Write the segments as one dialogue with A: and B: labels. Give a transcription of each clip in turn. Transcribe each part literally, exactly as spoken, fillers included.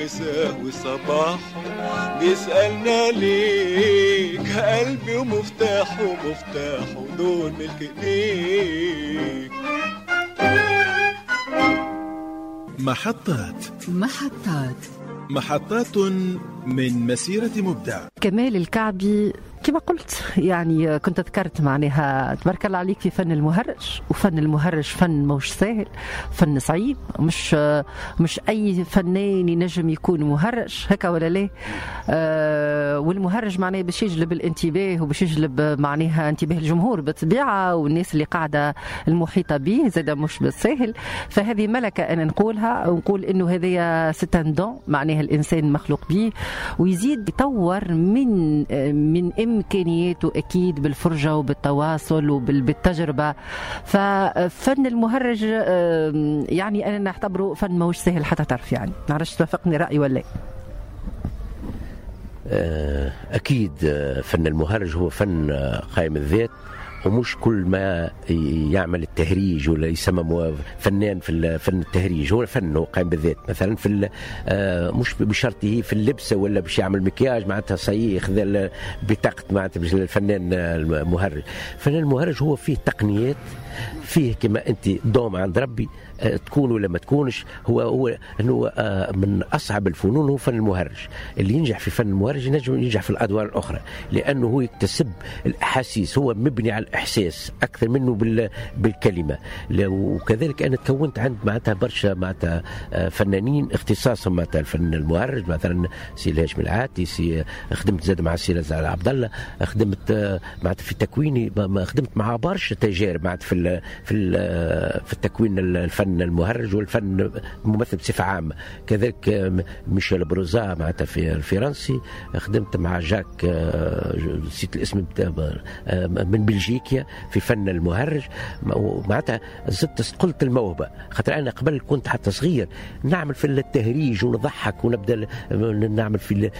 A: مساه وصباحه بيسألنا ليك، قلبي ومفتاحه مفتاحه دول ملك ايديك.
B: محطات
C: محطات
B: محطات من مسيرة مبدع.
C: كمال الكعبي كما قلت يعني كنت ذكرت معناها تبارك الله عليك في فن المهرج، وفن المهرج فن مش سهل، فن صعيب، مش مش اي فنان ينجم يكون مهرج هكا ولا لا. آه والمهرج معناه باش يجلب الانتباه وباش يجلب معناها انتباه الجمهور بالطبيعة والناس اللي قاعدة المحيطة به زاد مش بالسهل. فهذه ملكه انا نقولها ونقول انه هذه c'est un don معناها الانسان مخلوق به ويزيد يطور من من إمكانياته أكيد بالفرجة وبالتواصل وبالتجربة. ففن المهرج يعني أنا نعتبره فن ماهوش سهل حتى تعرف، يعني نعرفش توافقني رأيي ولا؟
D: أكيد فن المهرج هو فن قائم الذات، ومش كل ما يعمل التهريج ولا يسمى فنان في فن التهريج، هو فن هو قائم بالذات. مثلا في مش بشرطه في اللبسه ولا باش يعمل مكياج معناتها صحيح خذ بطاقة معناتها باش الفنان المهرج. الفنان المهرج هو فيه تقنيات، فيه كما انت دوم عند ربي تكون ولا ما تكونش. هو هو انه من اصعب الفنون هو فن المهرج. اللي ينجح في فن المهرج ينجم ينجح في الادوار الاخرى، لانه هو يكتسب الاحاسيس، هو مبني على الاحساس اكثر منه بالكلمة. وكذلك انا تكونت عند معناتها برشا معناتها فنانين اختصاصهم معناتها الفن المهرج، مثلا سي الهاشم العاتي، سي خدمت زاد مع سي رزاق عبد الله، خدمت معناتها في تكويني، خدمت مع برشا تجارب معناتها في في في التكوين الفن المهرج والفن الممثل بصفة عامة. كذلك ميشيل بروزا معناتها في الفرنسي، خدمت مع جاك نسيت الاسم من بلجيكا في فن المهرج. معناتها زدت قلت الموهبة، خاطر انا قبل كنت حتى صغير نعمل في التهريج ونضحك ونبدا نعمل في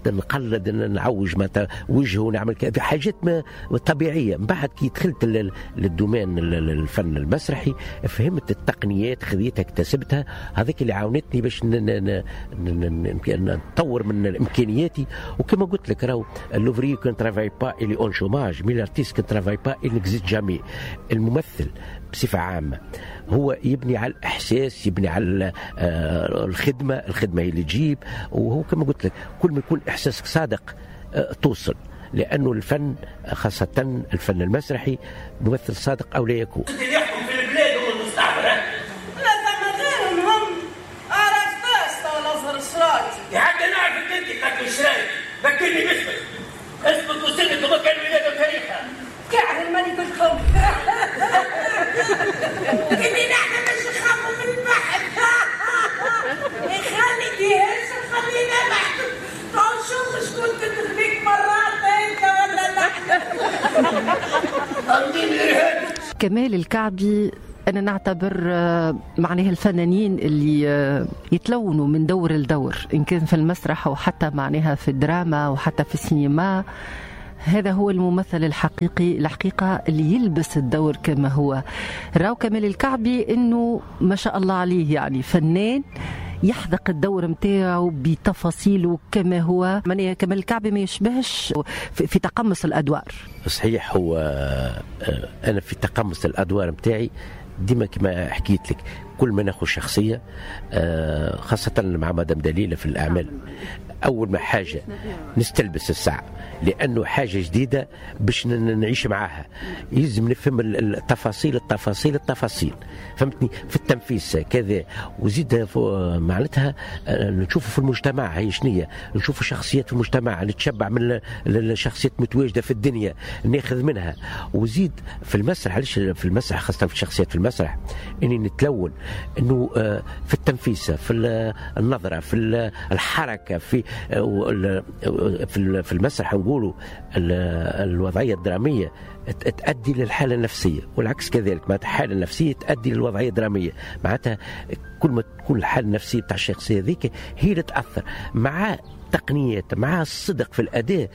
D: نقلد نعوج معناتها وجهه ونعمل حاجات طبيعية. من بعد كي دخلت لل domaine الفن المسرحي فهمت التقنيات، خذيتها اكتسبتها، هذيك اللي عاونتني باش نطور من امكانياتي. وكما قلت لك راهو l'ouvrier qui ne travaille pas il est en chômage، mais l'artiste qui ne travaille pas il n'existe jamais. الممثل بصفة عامة هو يبني على الاحساس، يبني على الخدمة، الخدمة هي اللي تجيب. وهو كما قلت لك كل ما يكون احساسك صادق توصل، لأنه الفن خاصة الفن المسرحي ممثل صادق أو لا يكون.
E: اللي يحكم في البلاد هو المستعمر.
F: لا ثم غيرهم هم عرفتاش تو الأزهر الشرايط.
E: حتى نعرفك أنت قتل الشرايط، ذكرني باسمك، اسمك وسنك ومكان الولادة وتاريخها.
F: كعب الملك الكم. كني نحن مش نخافوا من البحر. يخلي يهز خلينا نحكم. نشوف شكون تدخليك مرات انت ولا نحن.
C: كمال الكعبي أنا نعتبر معناها الفنانين اللي يتلونوا من دور لدور، إن كان في المسرح أو حتى معناها في الدراما وحتى في السينما، هذا هو الممثل الحقيقي الحقيقة اللي يلبس الدور كما هو. راو كمال الكعبي إنه ما شاء الله عليه يعني فنان يحذق الدور متاعه بتفاصيله كما هو. معناها كمال الكعبي ما يشبهش في تقمص الأدوار.
D: صحيح، هو أنا في تقمص الأدوار متاعي ديما كما حكيت لك كل ما ناخذ شخصية خاصة مع مدام دليلة في الأعمال، أول ما حاجة نستلبس الساعة، لأنه حاجة جديدة باش نعيش معاها، يلزم نفهم التفاصيل التفاصيل التفاصيل، فهمتني، في التنفيذ كذا. وزيد معناتها نشوفوا في المجتمع هي شنية، نشوفوا شخصيات في المجتمع، نتشبع من الشخصيات متواجدة في الدنيا ناخذ منها. وزيد في المسرح، علاش في المسرح خاصة في الشخصيات في المسرح إني نتلون إنه في التنفيذ، في النظرة، في الحركة، في في المسرح نقولوا الوضعية الدرامية تؤدي للحالة النفسية، والعكس كذلك، معناتها الحالة النفسية تؤدي للوضعية الدرامية. معناتها كل ما تكون الحالة النفسية بتاع الشخصية ذيك هي اللي تأثر مع تقنيات، مع الصدق في الأداء،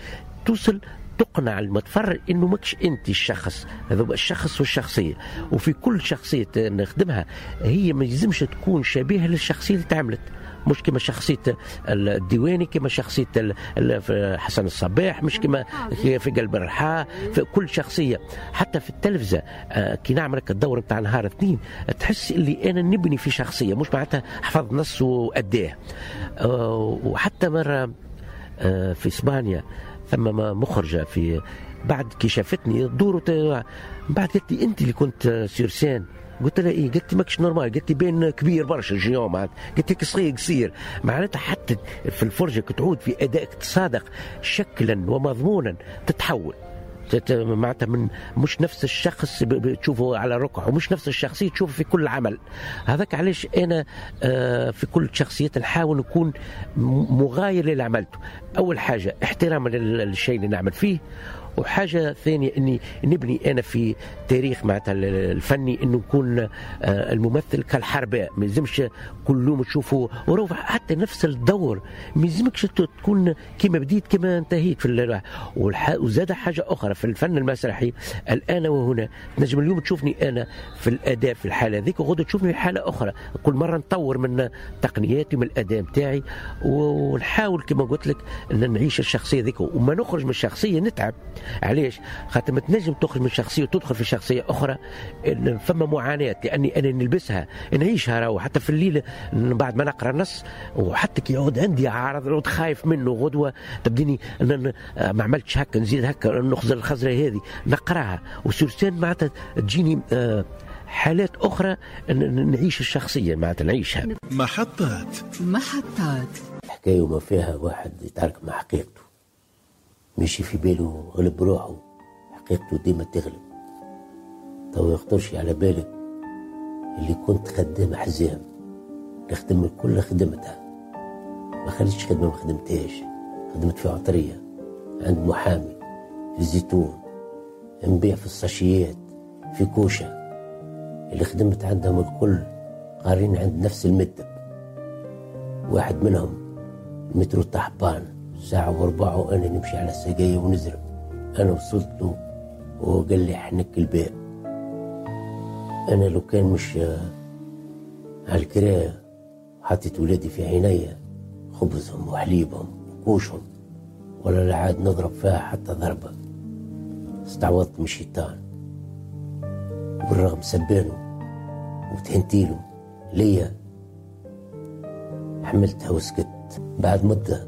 D: توصل تقنع المتفرج انه ماكش انت الشخص هذا، الشخص والشخصية. وفي كل شخصية نخدمها هي ما يلزمش تكون شبيهه للشخصية اللي تعملت، مش كما شخصية الديواني، كما شخصية حسن الصباح، مش كما في قلب الرحاء. في كل شخصية حتى في التلفزة كي نعمل الدور نتاع نهار اثنين تحس اللي انا نبني في شخصية، مش معناتها حفظ نص واداه. وحتى مرة في اسبانيا ثم مخرجه في بعد كي شافتني دور بعد قالت لي انت اللي كنت sur scène. قلت لها ايه؟ قالت لي ماكش normal، قالت لي بين كبير برشا جيون، معناتها قالت لك صغير قصير، معناتها حتى في الفرجة كتعود في ادائك تصادق شكلا ومضمونا تتحول، معناتها من مش نفس الشخص تشوفه على ركعة ومش نفس الشخصية تشوفه في كل عمل. هذاك علاش انا في كل شخصية نحاول نكون مغاير للي عملته. اول حاجة احتراما للشيء اللي نعمل فيه، وحاجه ثانية اني نبني انا في تاريخ معناتها الفني انه نكون الممثل كالحرباء، ما يلزمش كل يوم تشوفه وروح حتى نفس الدور، ما يلزمكش تكون كما بديت كما انتهيت في. وزاد حاجة اخرى في الفن المسرحي الان وهنا، تنجم اليوم تشوفني انا في الاداء في الحالة ذيك، وغدا تشوفني في حاله اخرى. كل مرة نطور من تقنياتي ومن الاداء نتاعي، ونحاول كما قلت لك ان نعيش الشخصية ذيك، وما نخرج من الشخصية نتعب. علاش؟ خاطر ما تنجم تخرج من شخصية وتدخل في شخصية اخرى، فما معاناة، لاني انا نلبسها نعيشها راهو. حتى في الليل بعد ما نقرا النص، وحتى كي يعود عندي عارض نعود خايف منه غدوه تبديني ما عملتش هكا، نزيد هكا، نخزر الخزره هذه نقراها، و sur scène معناتها تجيني حالات اخرى نعيش الشخصية معناتها نعيشها.
B: محطات
G: محطات
H: حكاية وما فيها واحد يتعارك مع حقيقته، ماشي في باله غلب روحه، حقيقته ديما تغلب. تو يخطرش على بالك اللي كنت خدام حزام، نخدم الكل خدمتها، ما خليتش خدمة ما خدمتهاش. خدمت في عطرية، عند محامي، في الزيتون، نبيع في الساشيات، في كوشة. اللي خدمت عندهم الكل قارين عند نفس المدب. واحد منهم المترو طحبان ساعة وربع وأنا نمشي على السقاية ونزرب. أنا وصلت له وهو قال لي حنك الباب. أنا لو كان مش على الكراية حطيت ولادي في عينيا، خبزهم وحليبهم وكوشهم، ولا لا عاد نضرب فيها حتى ضربة. استعوضت من الشيطان، وبالرغم سبانه وتهنتيله ليا حملتها وسكت. بعد مدة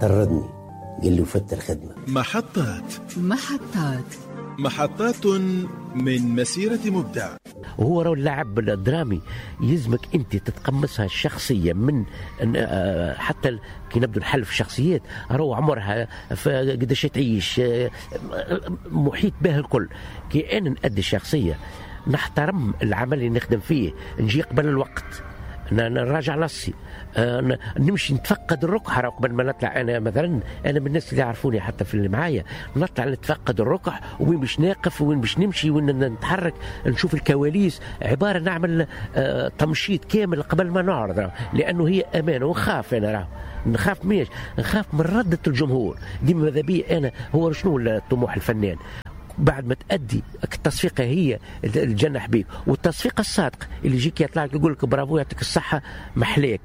H: طردني، قال لي وفت الخدمة.
B: محطات
G: محطات
B: محطات من مسيرة مبدع.
D: وهو راه اللاعب الدرامي يلزمك انت تتقمصها الشخصية من حتى كي نبدو نحل في الشخصيات، راهو عمرها قداش تعيش، محيط به الكل. كي انا نأدي الشخصية نحترم العمل اللي نخدم فيه، نجي قبل الوقت، نراجع نصي، نمشي نتفقد الركح قبل ما نطلع. انا مثلا انا من الناس اللي يعرفوني حتى في اللي معايا، نطلع نتفقد الركح، وين باش ناقف، وين باش نمشي، وين نتحرك، نشوف الكواليس، عبارة نعمل تمشيط كامل قبل ما نعرض، لانه هي امانه. ونخاف انا، راه نخاف ميش نخاف من رده الجمهور ديما. ماذا بي انا هو شنو طموح الفنان بعد ما تأدي التصفيقة هي الجنح بيك، والتصفيقة الصادقة اللي يجيك يطلع يقول لك برافو يعطيك الصحة محلاك،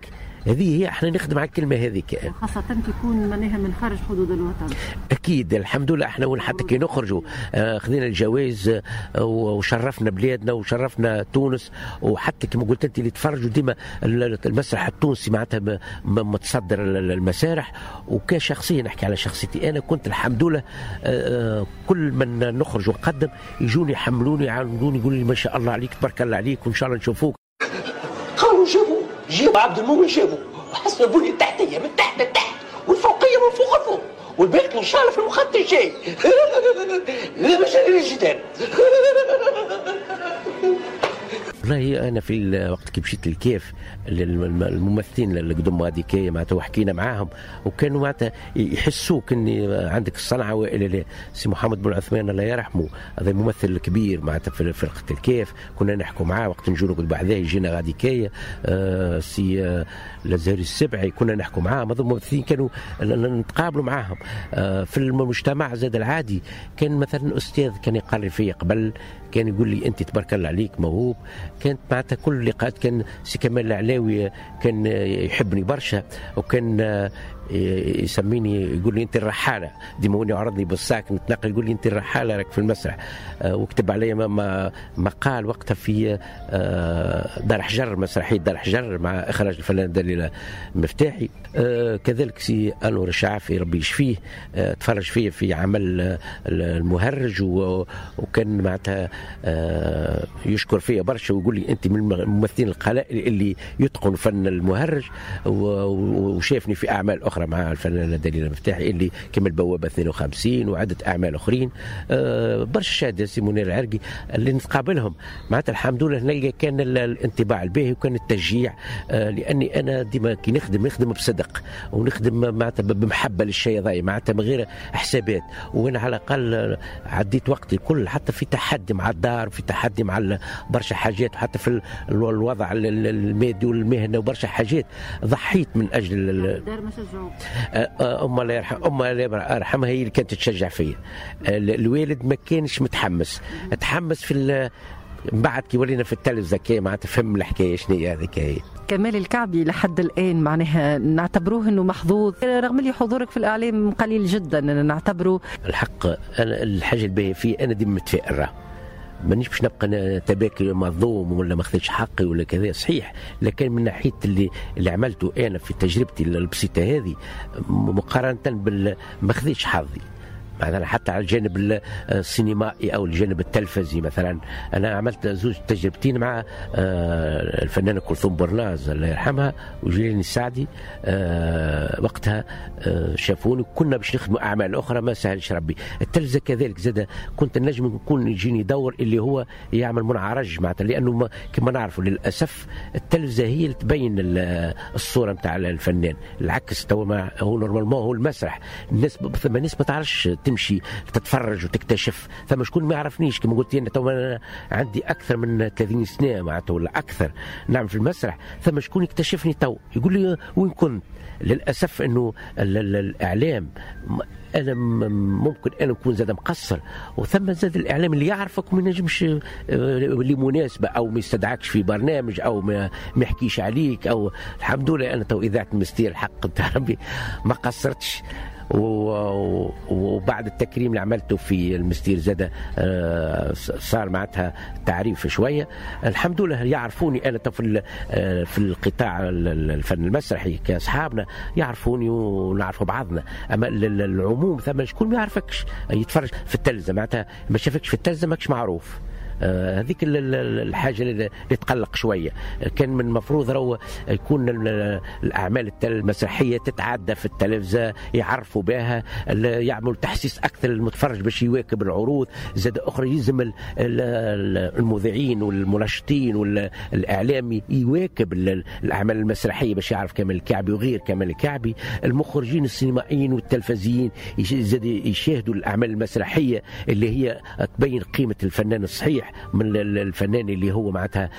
D: هذه هي احنا نخدم على الكلمة هذيك،
C: خاصة تكون معناها من خارج حدود الوطن.
D: اكيد الحمد لله احنا وين حتى كي نخرجوا آه خذينا الجوائز آه وشرفنا بلادنا وشرفنا تونس. وحتى كما قلت انت اللي تفرجوا ديما المسرح التونسي معناتها متصدر المسارح. وكشخصيه نحكي على شخصيتي انا، كنت الحمد لله آه كل من نخرج ونقدم يجوني يحملوني يعاونوني يقولوا لي ما شاء الله عليك تبارك الله عليك وان شاء الله نشوفوك.
E: قالوا جابوا جيب عبد المؤمن جابوا وحسن البنية التحتية من تحت لتحت والفوقيه من فوق لفوق والباقي ان شاء الله في المخطط الجاي. لا مجال للجدال.
D: والله انا في الوقت كي مشيت للكيف الممثلين اللي قدموا هذيك معناتها وحكينا معاهم وكانوا معناتها يحسوك ان عندك الصنعة والا لا. سي محمد بن عثمان الله يرحمه، هذا الممثل الكبير معناتها في فرقه الكيف، كنا نحكوا معاه وقت نجوا نقعد بعدها يجينا غاديكايه. آه سي الازهري السبعي كنا نحكوا معاه، هذو الممثلين كانوا نتقابلوا معاهم. آه في المجتمع زاد العادي كان مثلا استاذ كان يقرر فيا قبل، كان يقول لي انت تبارك الله عليك موهوب، كانت معناتها كل اللقاءات كان سي كمال العلاوي كان يحبني برشا، وكان يسميني يقول لي انت الرحاله، ديما هو يعرضني بال sac نتنقل يقول لي انت الرحاله راك في المسرح. وكتب علي مقال وقتها في دار حجر، مسرحية دار حجر مع اخراج الفنان دليل المفتاحي. كذلك سي انور الشعافي ربي يشفيه تفرج فيه في عمل المهرج، وكان معناتها يشكر فيا برشا ويقول لي انت من الممثلين القلائل اللي يتقن فن المهرج، وشافني في اعمال اخرى مع الفنانة دليل المفتاحي اللي كما البوابة اثنين وخمسين وعده اعمال اخرين. برشا شهادة سي منير العرقي اللي نتقابلهم معناتها الحمد لله نلقى كان الانطباع الباهي وكان التشجيع، لاني انا ديما كي نخدم نخدم بصدق ونخدم معناتها بمحبة للشيء هذا، معناتها من غير حسابات. وانا على الاقل عديت وقتي كل حتى في تحدي مع الدار، في تحدي مع برشا حاجات، وحتى في الوضع المادي والمهنه وبرشا حاجات ضحيت من اجل
C: الدار. ما شجعوك؟
D: أم الله يرحم أم الله يرحمها هي اللي كانت تشجع فيا. الوالد ما كانش متحمس، تحمس في من بعد كي ولينا في التلفزة كي معناتها فهم الحكاية شنو هي هذيك. هي
C: كمال الكعبي لحد الان معناها نعتبروه انه محظوظ، رغم اللي حضورك في الاعلام قليل جدا، نعتبره
D: الحق. انا الحاجة الباهيه فيه انا ديما متفائل، راه مانيش باش نبقى تباكي مظلوم ولا ما خذيتش حقي ولا كذا، صحيح، لكن من ناحية اللي اللي عملته انا في تجربتي البسيطة هذه مقارنة بال ما خذيتش حظي مثلا حتى على الجانب السينمائي او الجانب التلفزي. مثلا انا عملت زوج تجربتين مع الفنانة كلثوم برناز الله يرحمها وجيلاني السعدي، وقتها شافوني كنا باش نخدموا اعمال اخرى ما سهلش ربي. التلفزة كذلك زاد كنت النجم نكون يجيني دور اللي هو يعمل منعرج معناتها، لانه كما نعرفوا للاسف التلفزة هي اللي تبين الصورة نتاع الفنان، العكس تو هو normalement هو المسرح. الناس ثم الناس ما تعرفش تمشي تتفرج وتكتشف، ثم شكون ما يعرفنيش كما قلت انا تو انا عندي اكثر من ثلاثين سنة معناتها ولا اكثر نعمل في المسرح، ثم شكون يكتشفني تو يقول لي وين كنت. للاسف انه الاعلام انا ممكن انا نكون زاد مقصر، وثم زاد الاعلام اللي يعرفك وما ينجمش لمناسبة او ما يستدعكش في برنامج او ما يحكيش عليك. او الحمد لله انا تو اذاعة المستير الحق نتاع ربي ما قصرتش، وبعد التكريم اللي عملته في المستير زاد صار معناتها تعريف شوية، الحمد لله يعرفوني انا في في القطاع الفن المسرحي كاصحابنا يعرفوني ونعرفوا بعضنا. اما العموم ثم شكون ما يعرفكش يتفرج في التلفزة معناتها ما شافكش في التلفزة ماكش معروف. هذيك الحاجة اللي تقلق شوية. كان من المفروض رو يكون الاعمال المسرحية تتعدى في التلفزة يعرفوا بها، يعملوا تحسيس اكثر للمتفرج باش يواكب العروض. زاد اخرى يلزم المذيعين والمنشطين والاعلام يواكب الاعمال المسرحية باش يعرف كمال الكعبي وغير كمال الكعبي. المخرجين السينمائيين والتلفزيين زاد يشاهدوا الاعمال المسرحية اللي هي تبين قيمة الفنان الصحيح من الفنان اللي هو معناتها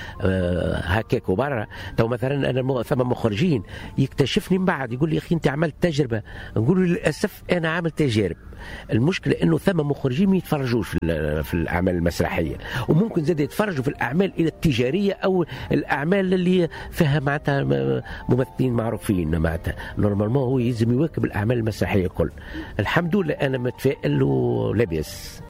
D: هكاك وبرا. تو مثلا انا ثم مخرجين يكتشفني من بعد يقول لي يا اخي انت عملت تجربه، نقول له للاسف انا عامل تجارب. المشكلة انه ثم مخرجين ما يتفرجوش في, في الاعمال المسرحية، وممكن زاد يتفرجوا في الاعمال الى التجارية او الاعمال اللي فيها معناتها ممثلين معروفين. معناتها normalement هو يلزم يواكب الاعمال المسرحية الكل. الحمد لله انا متفائل ولاباس.